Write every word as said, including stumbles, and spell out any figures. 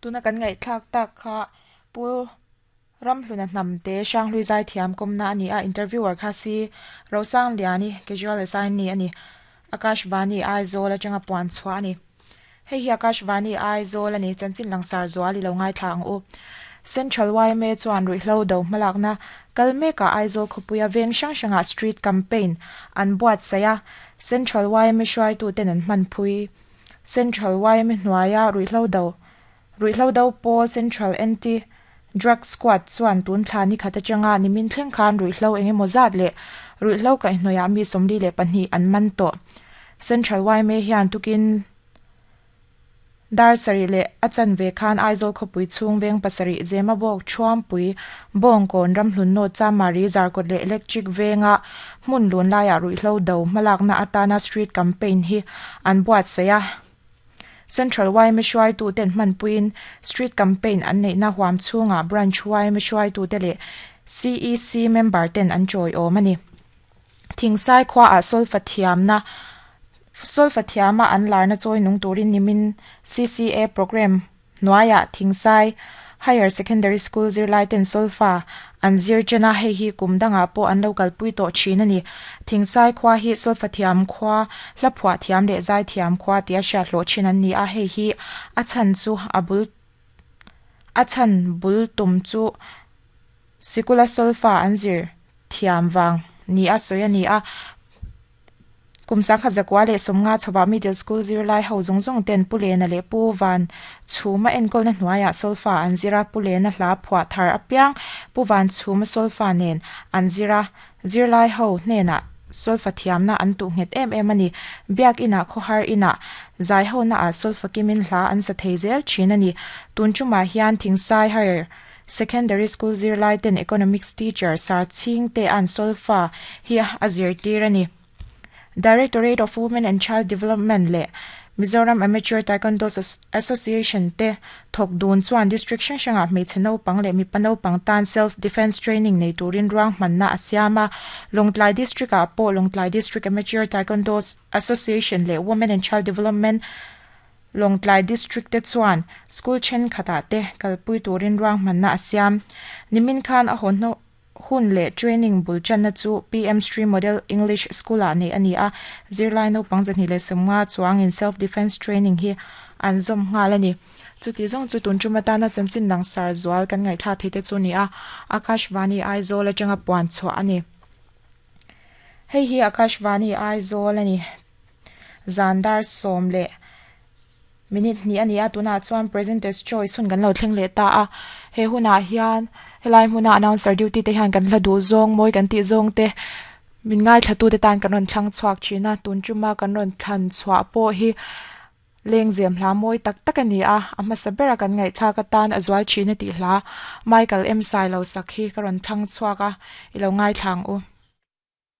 Tuna kan ngaihthlak tak kha pu Ramhluna hnamte Hranghlui Zaithiam kawmna a ni a, interviewer kha si Rosangliani casual assignee a ni. Akashvani Aizawl atanga puan chhuah a ni. Hei hi Akashvani Aizawl a ni, chanchin langsar zual i lo ngaithla ang u. Central Y M A chuan ruihhlo do hmalakna kal mekah Aizawl khawpuia veng hrang hrangah street campaign an buatsaih a, Central Y M A hruaituten an hmanpui. Central Y M A hnuaia ruihhlo do ruihhlo do pawl Central Anti Drug Squad chuan tun thla ni khat atanga nimin thleng khan ruihhlo engemaw zat leh ruihhlo kaihhnawihah mi sawmli leh pahnih an man tawh. Central Y M A hian tukin dar sarih leh a chanve khan Aizawl khawpui chhung veng pasarih Zemabawk, Thuampui, Bawngkawn, Ramhlun North, Chamari, Zarkawt leh Electric venga hmun lun laiah ruihhlo do hmalakna atana street campaign hi an buatsaih a. Central Y M A hruaituten hmanpuiin street campaign an neihna huam chhungah branch Y M A hruaitute leh C E C member ten an tawiawm a ni. Thingsai khuaah solfa thiamna solfa thiama an larna chawi nung turin nimin C C A program hnuaiah Thingsai Higher Secondary School zirlai ten solfa an zir chena, hei hi kum dangah pawh an lo kalpui tawh thin a ni. Thingsai khua hi solfa thiam khua, hla phuah thiam leh zai thiam khua tia hriat hlawh thin an ni a, hei hi a chhan chu a bul a chhan bul tum chu sikula solfa an zir thiam wang ni a sawi a ni a. Kum sangkhat zakua leh sawmnga chhoah middle school zirlai ho zawng zawng ten Pu Lena leh Pu Van Chhuma enkawlna hnuaiah solfa an zira, Pu Lena hla phuah thar apiang Pu Van Chhuma solfa nen an zira, zirlai ho hnenah solfa thiamna an tuh nghet em em a ni. Biak inah, khawhar inah, zai ho na ah solfa kimin hla an sa thei zel thin a ni. Tun tumah hian Thingsai Higher Secondary School zirlai ten economics teacher Sar Chhing te an solfa hi a zirtir a ni. Directorate of Women and Child Development leh Mizoram Amateur Taekwondo Association te thawk dun chuan district hrang hrangah hmeichhe naupang leh mipa naupang tan self defence training nei turin ruang hmanna a siam a. Lawngtlai District ah pawh Lawngtlai District Amateur Taekwondo Association leh Women and Child Development Lawngtlai District te chuan school thenkhatah te kalpui turin ruang hmanna a siam. Nimin khan a hawn hun leh training bul channa chu P M Stream Model English School ah nei a ni a, zirlai naupang zahnih leh sawmnga chuangin self defence training hi an zawm nghal a ni. Chuti zawng chu tun tum atana chanchin langsar zual kan ngaihthla thei te chu ni a, Akashvani Aizawl atanga puan chhuah a ni. Hei hi Akashvani Aizawl a ni, zandar sawm leh minute hnih a ni a. Tunah chuan Presenters Choice hun kan lo thleng leh ta a. He hunah hian helai hmuna announcer duty te hian kan hla duh zawng, mawi kan tih zawng te min ngaithla tu te tan kan rawn thlang chhuak thin a. Tun tuma kan rawn thlan chhuah pawh hi lengzem hla mawi tak tak a ni a. A hmasa bera kan ngaihthlak atan a zual thin a tih hla Michael M Sailo sak hi ka rawn thlang chhuak a, i lo ngaithla ang u.